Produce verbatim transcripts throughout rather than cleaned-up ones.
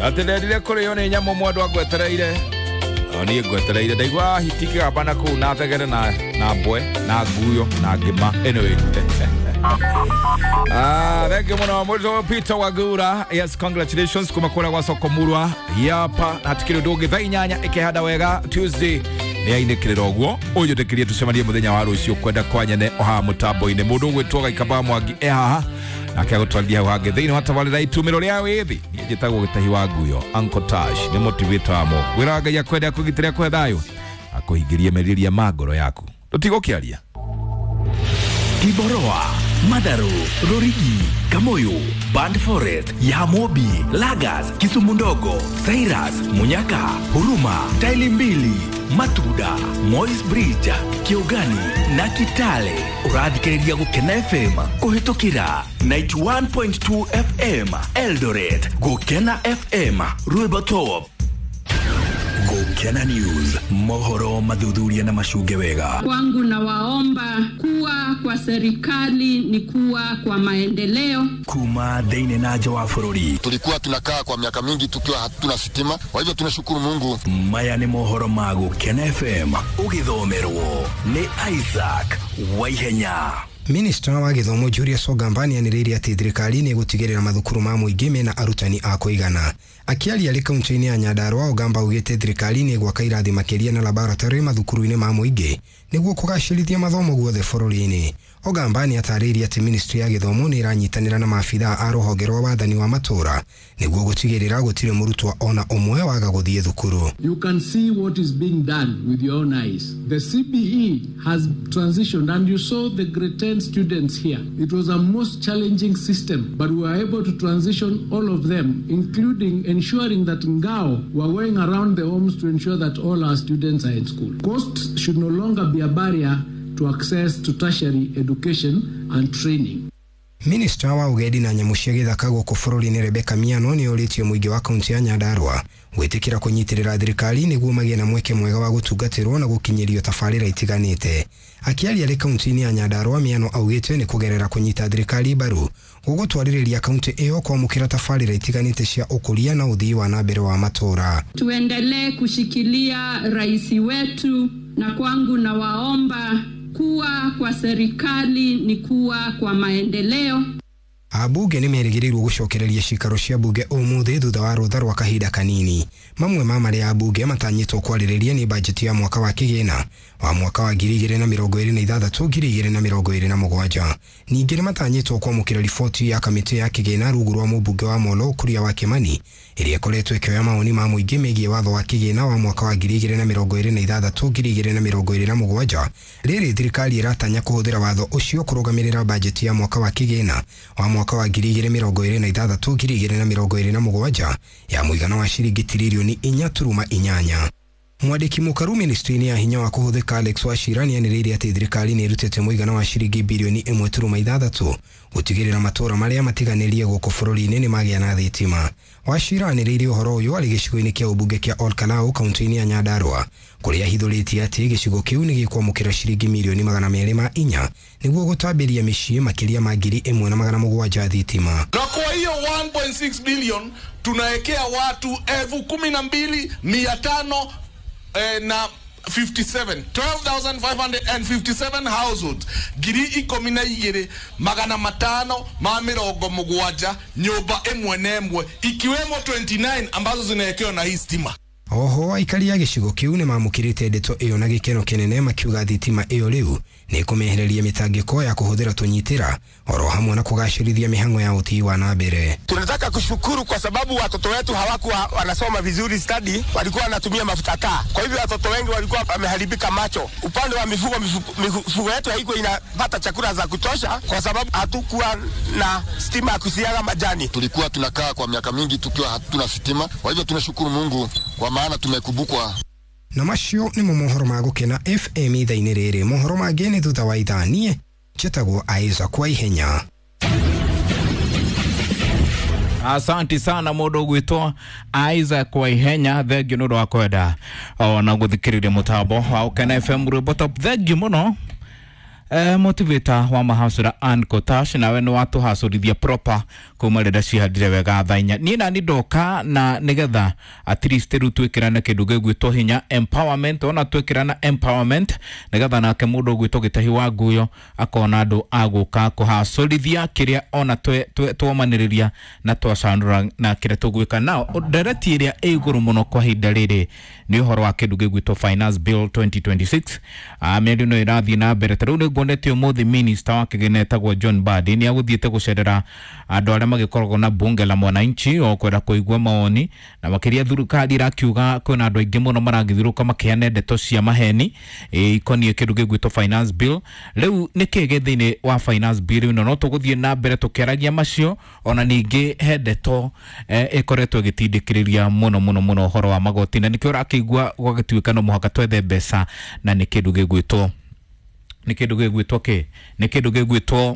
Atĩ ndendire kũrĩo nĩ nyamũ mwendwa ngwetereire. O niĩ ngwetereire ndaigua hiti kĩgamba na kũu na thegere na na mbwe na nguyo na ngĩma. Anyway. Ah, thank you muno mũrutwo Peter Wagura. Yes, congratulations kuma kũrĩa gwa soko murwa. Yapa hatikĩrĩ ũndũ ũngĩ thaa inyanya ĩkĩhanda wega Tuesday nĩ ainĩkĩrĩra ũguo ũnjĩtĩkĩrie tũcemanie mũthenya wa rũciũ kwenda kwa nyene o haha mũtambo-inĩ mũndũ ũgwĩtwo Gaikamba Mwangi e haha nake agũtwarithia hau hangĩ thĩinĩ wa tabarĩra itumĩro rĩa wĩthĩ. Niĩ njĩtagwo Gĩtahi wa Nguyo, Uncle Tash nĩ motivator wamo. Ngwĩraga Ngai akwende akũgitĩre akũhe thayũ akũhingĩrie merirĩria ma ngoro yaku. Tũtigũkĩaria. Kiboroa, Madaro, Rorigi, Kamoyo, Band Forest, Yamobi, Lagas, Kisumu Ndogo, Cyrus, Munyaka, Huruma, Taili Mbili, Matuda, Moi's Bridge, Kiugani na Kitale. Ũrathikĩrĩria Gũkena F M kũhĩtũkĩra ninety-one point two F M Eldoret, Gũkena F M Rwĩmbo Top. Gũkena News, mohoro mathuthuria na macunge wega. Kwangu na waomba kuwa kwa serikali ni kuwa kwa maendeleo. Kuma thĩinĩ na nja wa bũrũri. Tulikuwa tunakaa kwa miaka mingi tukiwa hatuna sitima, kwa hivyo tunashukuru Mungu. Maya nĩ mohoro ma Gũkena F M, ũgĩthomerwo nĩ Isaac Waihenya. Minista wa gĩthomo Julius Ogamba nĩanĩrĩire atĩ thirikari nĩ ĩgũtigĩrĩra mathukuru ma mũingĩ mena arutani a kũigana. Akĩaria arĩ kaunti-inĩ ya Nyandarua, Ogamba augĩte thirikari nĩ ĩgwaka irathi makĩria na laboratory mathukuru-inĩ ma mũingĩ nĩguo kũgacĩrithia mathomo guothe bũrũri-inĩ. Ogamba nĩ atarĩirie atĩ ministry ya gĩthomo nĩ ĩranyitanĩra na maabithaa a rũhonge rwa wathani wa matũũra nĩguo gũtigĩrĩra gũtirĩ mũrutwo ona ũmwe waga gũthiĩ thukuru. You can see what is being done with your own eyes. The C B E has transitioned and you saw the grade ten students here. It was a most challenging system, but we were able to transition all of them, including ensuring that Ngao were going around the homes to ensure that all our students are in school. Cost should no longer be a barrier to access to tertiary education and training. Minista wa ũgendi na nyamũ cia gĩthaka gũkũ bũrũri-inĩ Rebecca Miano nĩ orĩtie mũingĩ wa kaunti ya Nyandarua gwĩtĩkĩra kũnyitĩrĩra thirikari nĩguo magĩe na mweke mwega wa gũtungatĩrwo na gũkinyĩrio tabarĩra itiganĩte. Akĩaria arĩ kaunti-inĩ ya Nyandarua, Miano augĩte nĩ kũgerera kũnyita thirikari mbaru gũgũtwarĩrĩria kaunti ĩyo kwamũkĩra tabarĩra itiganĩte cia ũkũria na ũthii wa na mbere wa matũũra. Tuendelee kushikilia rais wetu, na kwangu na waomba kuwa kwa serikali ni kuwa kwa maendeleo. Abunge nĩ merĩgĩrĩirwo gũcokereria cikaro cia bunge ũmũthĩ thutha wa rũtha rwa kahinda kanini. Mamwe ma marĩa abunge matanyĩtwo kwarĩrĩria nĩ bajeti ya mwaka wa kĩgĩna wa mwaka wa ngiri igĩrĩ na mĩrongo ĩrĩ na ithathatũ ngiri igĩrĩ na mĩrongo ĩrĩ na mũgwanja. Ningĩ nĩ matanyĩtwo kwamũkĩra riboti ya kamĩtĩ ya kĩgĩna rungu rwa mũmbunge wa Molo Kuria wa Kimani ĩrĩa ĩkoretwo ĩkĩoya mawoni ma mũingĩ megiĩ watho wa kĩgĩna wa mwaka wa ngiri igĩrĩ na mĩrongo ĩrĩ na ithathatũ ngiri igĩrĩ na mĩrongo ĩrĩ na mũgwanja. Rĩrĩ thirikari ĩratanya kũhũthĩra watho ũcio kũrũgamĩrĩra bajeti ya mwaka wa kĩgĩna wa mwaka wa ngiri igĩrĩ mĩrongo ĩrĩ na ithathatũ ngiri igĩrĩ na mĩrongo ĩrĩ na mũgwanja ya mũigana wa ciringi tiririoni inya turuma inyanya. Mwandĩki mũkaru ministry-inĩ ya hinya wa kũhũthĩka Alex Wachira nĩanĩrĩire atĩ thirikari nĩ ĩrutĩte mũigana wa ciringi birioni ĩmwe turuma ithathatũ gũtigĩrĩra matũũra marĩa matiganĩrie gũkũ bũrũri-inĩ nĩ magĩa na thitima. Wachira anĩrĩire ũhoro ũyũ arĩ gĩcigo-inĩ kĩa ũmbunge kĩa Ol Kalou kaunti-inĩ ya Nyandarua kũrĩa ahithũrĩtie atĩ gĩcigo kĩu nĩ gĩkwamũkĩra ciringi mirioni magana merĩ ma inya nĩguo gũtambĩria mĩciĩ makĩria ma ngiri ĩmwe na magana mũgwanja thitima. Na kwa hiyo one point six billion tunaekea watu elfu kumi na mbili mia tano eh, na fifty-seven, twelve thousand five hundred and fifty-seven households ngiri ikũmi na igĩrĩ magana matano ma mĩrongo mũgwanja nyũmba ĩmwe na ĩmwe ikiwemo twenty-nine ambazo zinaekewa na hii stima. Oho aikari a gĩcigo kĩu nĩ mamũkĩrĩte ndeto ĩyo na gĩkeno kĩnene makiuga thitima ĩyo rĩu nĩ ĩkũmehereria mĩtangĩko ya kũhũthĩra tũnyitĩra oro hamwe na kũgacĩrithia mĩhang'o ya ũthii wa na mbere. Tunataka kushukuru kwa sababu watoto wetu hawakuwa wanasoma vizuri study, walikuwa wanatumia mafuta taa. Kwa hivyo watoto wengi walikuwa wameharibika macho. Upande wa mifugo, mifugo yetu haikuwa inapata chakula za kutosha kwa sababu hatukuwa na stima ya kusiaga majani. Tulikuwa tunakaa kwa miaka mingi tukiwa hatuna sitima, kwa hivyo tunashukuru Mungu kwa maana tumekumbukwa. Na macio nĩ mo mohoro ma Gũkena F M ithaa-inĩ rĩrĩ. Mohoro mangĩ nĩ thutha wa ithaa. Niĩ njĩtagwo Isaac Waihenya. Asante sana mũndũ ũgwĩtwo Isaac Waihenya, thengiũ nĩ ũndũ wa kwenda ona gũthikĩrĩria mũtambo wa Gũkena F M Rwĩmbo Top. Thengiũ mũno. eh, motivator wa mahasura Ann Kotash nawe nĩ watũhacũrithia proper kuma rĩrĩa cihandire wega thaa inya. Niĩ nani ndoka na nĩgetha at least rĩu twĩkĩrane kĩndũ gĩgwĩtwo hinya empowerment, ona twĩkĩrana empowerment nĩgetha nake mũndũ ũgwĩtwo Gĩtahi wa Nguyo akona andũ a gũka kũhacũrithia kĩrĩa ona twomanĩrĩria na twacanũra na kĩrĩa tũgwĩka. Nao ndereti ĩrĩa ĩ igũrũ mũno kwa ihinda rĩrĩ nĩ ũhoro wa kĩndũ gĩgwĩtwo Finance Bill twenty twenty-six. Ah, mĩario ĩno ĩrathiĩ na mbere ta rĩu nĩ nguonete ũmũthĩ minister wa kĩgĩna etagwo John Mbadi nĩ agũthiĩte gũcerera andũ arĩa magĩkoragwo na bunge la mwananchi o kwenda kũigua mawoni, na makĩria thirikari ĩrakiuga kwĩna andũ aingĩ mũno maragĩthirũka makĩheana ndeto cia maheni ikoniĩ kĩndũ gĩgwĩtwo Finance Bill. Rĩu nĩkĩ gĩ thĩinĩ wa Finance Bill ĩno? No tũgũthiĩ na mbere tũkĩaragia macio, ona ningĩ he ndeto ĩkoretwo ĩgĩtindĩkĩrĩria mũno mũno mũno ũhoro wa magoti, na nĩkĩo ũrakĩigua gwagĩtuĩka no mũhaka twethe mbeca, na nĩ kĩndũ gĩgwĩtwo nĩ kĩndũ gĩgwĩtwo kĩ nĩ kĩndũ gĩgwĩtwo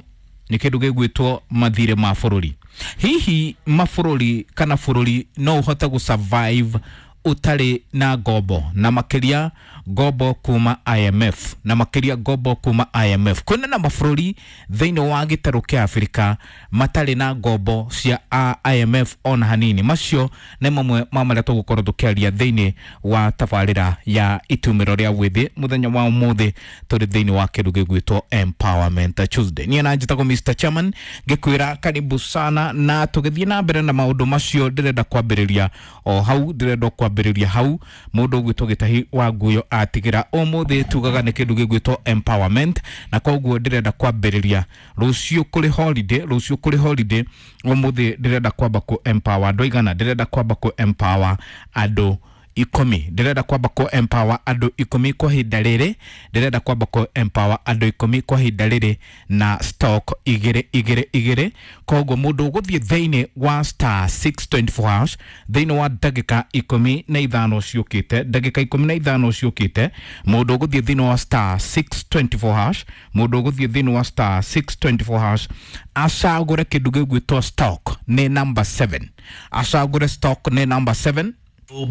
nĩ kĩndũ gĩgwĩtwo mathirĩ ma bũrũri. Hihi mabũrũri kana bũrũri no ũhote gũ survive ũtarĩ na ngombo, na makĩria ngombo kuma I M F, na makĩria ngombo kuma I M F. Kwĩna na mabũrũri thĩinĩ wa gĩtarũ kĩa Afrika matarĩ na ngombo cia I M F ona hanini. Macio nĩ mamwe ma marĩa tũgũkorwo tũkĩaria thĩinĩ wa tabarĩra ya itumĩro rĩa wĩthĩ mũthenya wa ũmũthĩ tũrĩ thĩinĩ wa kĩndũ gĩgwĩtwo Empowerment Tuesday. Niĩ na njĩtagwo Mister Chairman ngĩkwĩra karibu sana, na tũgĩthiĩ na mbere na maũndũ macio ndĩrenda kwambĩrĩria o hau, ndĩrenda kwambĩrĩria hau mũndũ ũgwĩtwo Gĩtahi wa Nguyo atigĩra ũmũthĩ tugaga nĩ kĩndũ gĩgwĩtwo empowerment, na koguo ndĩrenda kwambĩrĩria rũciũ kũrĩ holiday, rũciũ kũrĩ holiday ũmũthĩ ndĩrenda kwamba kũ empower andũ aigana? Ndĩrenda kwamba kũ empower andũ ikũmi, ndĩrenda kwamba kũ empower andũ ikũmi kwa ihinda rĩrĩ, ndĩrenda kwamba kũ empower andũ ikũmi kwa ihinda rĩrĩ na stock igĩrĩ igĩrĩ igĩrĩ. Koguo mũndũ ũgũthiĩ thĩinĩ wa star six twenty-four hash thĩinĩ wa ndagĩka ikũmi na ithano ciũkĩte, ndagĩka ikũmi na ithano ciũkĩte, mũndũ ũgũthiĩ thĩinĩ wa star six twenty-four hash, mũndũ ũgũthiĩ thĩinĩ wa star six twenty-four hash acagũre kĩndũ gĩgwĩtwo stock nĩ number seven, acagũre stock nĩ number seven.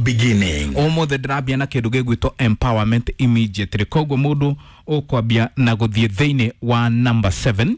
Beginning ũmũthĩ ndĩrambia na kĩndũ gĩgwĩtwo empowerment immediately. Koguo mũndũ ũkwambia na gũthiĩ thĩinĩ wa number seven,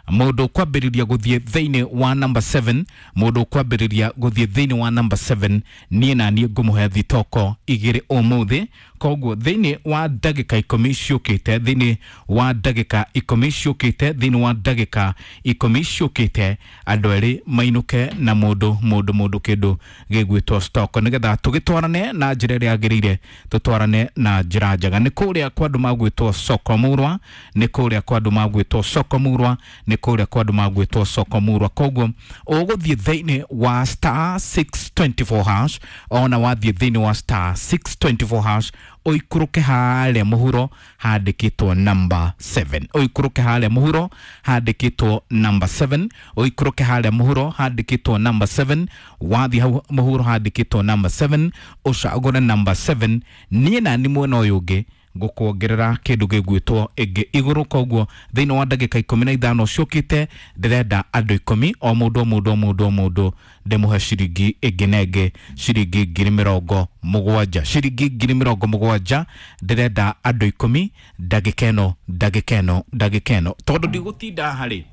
mũndũ ũkwambĩrĩria gũthiĩ thĩinĩ wa number seven, mũndũ ũkwambĩrĩria gũthiĩ thĩinĩ wa number seven, niĩ na niĩ ngũmũhe thitoko igĩrĩ ũmũthĩ. Koguo thĩinĩ wa ndagĩka ikũmi ciũkĩte, thĩinĩ wa ndagĩka ikũmi ciũkĩte, thĩinĩ wa ndagĩka ikũmi ciũkĩte, andũ erĩ mainũke na mũndũ mũndũ mũndũ kĩndũ gĩgwĩtwo stock, nĩgetha tũgĩtwarane na njĩra ĩrĩa yagĩrĩire, tũtwarane na njĩra njega. Nĩ kũrĩa kwa andũ magwĩtwo Soko Murwa, nĩ kũrĩa kwa andũ magwĩtwo Soko Murwa, nĩ kũrĩa kwa andũ magwĩtwo Soko Murwa. Koguo ũgũthiĩ thĩinĩ wa star six twenty-four hash, ona wathiĩ thĩinĩ wa star six twenty-four hash ũikũrũke harĩa mũhuro handĩkĩtwo number seven, ũikũrũke harĩa mũhuro handĩkĩtwo number seven, ũikũrũke harĩa mũhuro handĩkĩtwo number seven. Wathiĩ hau mũhuro handĩkĩtwo number seven, ũcagũre number seven. Niĩ na nĩ mwena ũyũ ũngĩ ngũkuongerera kĩndũ gĩgwĩtwo ĩngĩ igũrũ. Koguo thĩinĩ wa ndagĩka ikũmi na ithano ciũkĩte ndĩrenda andũ ikũmi, o mũndũ o mũndũ o mũndũ o mũndũ ndĩmũhe ciringi ĩngĩ na ĩngĩ, ciringi ngiri mĩrongo mũgwanja, ciringi ngiri mĩrongo mũgwanja. Ndĩrenda andũ ikũmi ndagĩka ĩno, ndagĩka ĩno, ndagĩka ĩno, tondũ ndigũtinda harĩ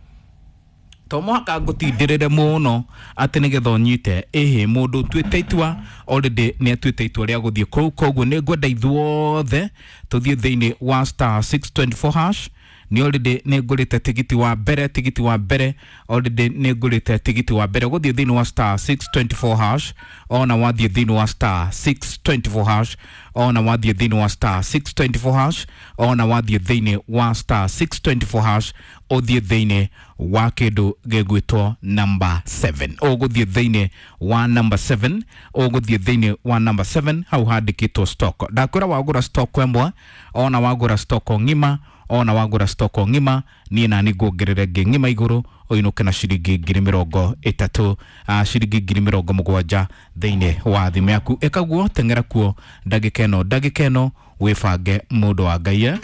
to mũhaka ngũtindĩrĩre mũno atĩ nĩgetha ũnyite. Ĩhĩ, mũndũ ũtuĩte itua already nĩ atuĩte itua rĩa gũthiĩ kũu. Koguo nĩ ngwenda ithuothe tũthiĩ thĩinĩ wa star six twenty-four hash. Nĩ already nĩ ngũrĩte tigiti wa mbere, tigiti wa mbere already nĩ ngũrĩte tigiti wa mbere gũthiĩ thĩinĩ wa star six twenty-four hash. Ona wathiĩ thĩinĩ wa star six twenty-four hash, ona wathiĩ thĩinĩ wa star six twenty-four hash, ona wathiĩ thĩinĩ wa star six twenty-four hash ũthiĩ thĩinĩ wa kĩndũ gĩgwĩtwo number seven, ũgũthiĩ thĩinĩ wa number seven, ũgũthiĩ thĩinĩ wa number seven hau handĩkĩtwo stock. Ndakwĩra wagũra stock ĩmwe, ona wagũra stock ng'ima, ona wagũra stock ng'ima, niĩ na nĩ nguongerere ĩngĩ ng'ima igũrũ, ũinũke na ciringi ngiri mĩrongo ĩtatũ, ciringi ngiri mĩrongo mũgwanja thĩinĩ wa thimũ yaku. Ĩka guo, teng'era kuo ndagĩka ĩno, ndagĩka ĩno wĩbange mũndũ wa Ngai.